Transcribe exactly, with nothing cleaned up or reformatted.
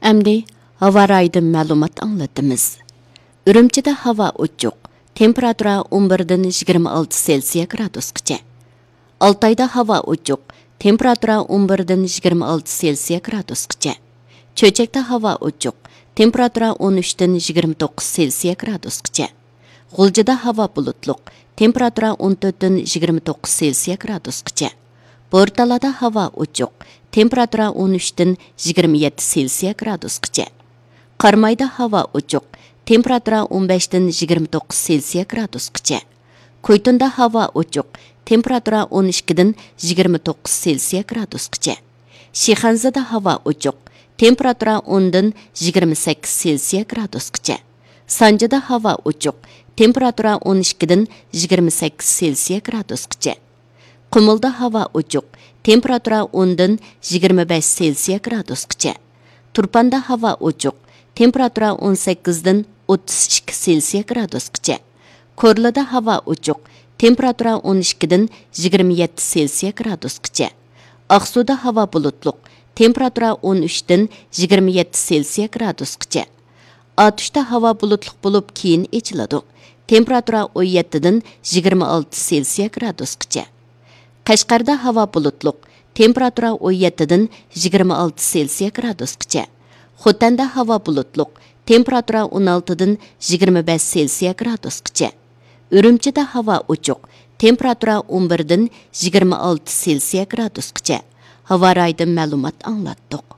ئەمدى ھاۋا رايىدىن مەلۇمات ئاڭلىتىمىز. ئۈرۈمچىدە ھاۋا ئوچۇق، تېمپېراتۇرا ئون بىردىن يىگىرمە ئالتە سېلسىيە گرادۇسقىچە. ئالتايدا ھاۋا ئوچۇق، تېمپېراتۇرا ئون بىردىن يىگىرمە ئالتە سېلسىيە گرادۇسقىچە. چۆچەكتە ھاۋا ئوچۇق، تېمپېراتۇرا ئون ئۈچتىن يىگىرمە توققۇز سېلسىيە گرادۇسقىچە. غۇلجىدا ھاۋا بۇلۇتلۇق، تېمپېراتۇرا ئون تۆتتىن يىگىرمە توققۇز سېلسىيە گرادۇسقىچە. بورتالادا ھاۋا ئوچۇق، تېمپېراتۇرا ئون ئۈچتىن يىگىرمە يەتتە سېلسىيە گرادۇسقىچە. قارامايدا ھاۋا ئوچۇق، تېمپېراتۇرا ئون بەشتىن يىگىرمە توققۇز سېلسىيە گرادۇسقىچە. كويتۇندا ھاۋا ئوچۇق، تېمپېراتۇرا ئون ئىككىدىن يىگىرمە توققۇز سېلسىيە گرادۇسقىچە. شىخەنزىدە ھاۋا ئوچۇق، تېمپېراتۇرا ئوندىن يىگىرمە سەككىز سېلسىيە گرادۇسقىچە. سانجىدا ھاۋا ئوچۇق، تېمپېراتۇرا ئون ئىككىدىن يىگىرمە سەككىز سېلسىيە گرادۇسقىچە. قۇمۇلدا ھاۋا ئوچۇق، تېمپېراتۇرا ئوندىن يىگىرمە بەش سېلسىيە گرادۇسقىچە. تۇرپاندا ھاۋا ئوچۇق، تېمپېراتۇرا ئون سەككىزدىن ئوتتۇز ئىككى سېلسىيە گرادۇسقىچە. كورلىدا ھاۋا ئوچۇق، تېمپېراتۇرا ئون ئىككىدىن يىگىرمە يەتتە سېلسىيە گرادۇسقىچە. ئاقسۇدا ھاۋا بۇلۇتلۇق، تېمپېراتۇرا ئون ئۈچتىن يىگىرمە يەتتە سېلسىيە گرادۇسقىچە. ئاتۇشتا ھاۋا بۇلۇتلۇق بولۇپ، كېيىن ئېچىلىدۇ. تېمپېراتۇرا ئون يەتتىدىن يىگىرمە ئالتە سېلسىيە گرادۇسقىچە. قەشقەردە ھاۋا بۇلۇتلۇق، تېمپېراتۇرا ئون يەتتىدىن يىگىرمە ئالتە سېلسىيە گرادۇسقىچە. خوتەندە ھاۋا بۇلۇتلۇق، تېمپېراتۇرا ئون ئالتىدىن يىگىرمە بەش سېلسىيە گرادۇسقىچە. ئۈرۈمچىدە ھاۋا ئوچۇق، تېمپېراتۇرا ئون بىردىن يىگىرمە ئالتە سېلسىيە گرادۇسقىچە. ھاۋا رايىدىن مەلۇمات ئاڭلاتتۇق.